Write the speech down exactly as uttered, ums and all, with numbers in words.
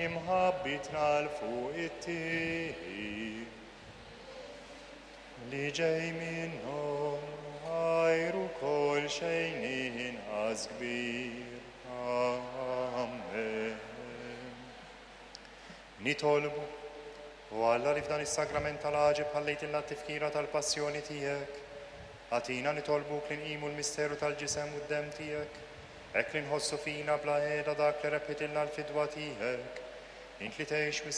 Imħabbitna 'l fuq ittir. Li ġej minnhom għajru kol xejn inqas kbir. Amen. Nitolbu, o Alla li f'dan is-sagrament tal-għaġeb ħallejtilna t-tifkira tal-passjoni tiegħek. Agħtina nitolbuk li nqimu l-misteru tal-ġisem u d-demm tiegħek, hekk li nħossu fina bla heda dak li rebħitilna l-fidwa tiegħek. Int li tgħix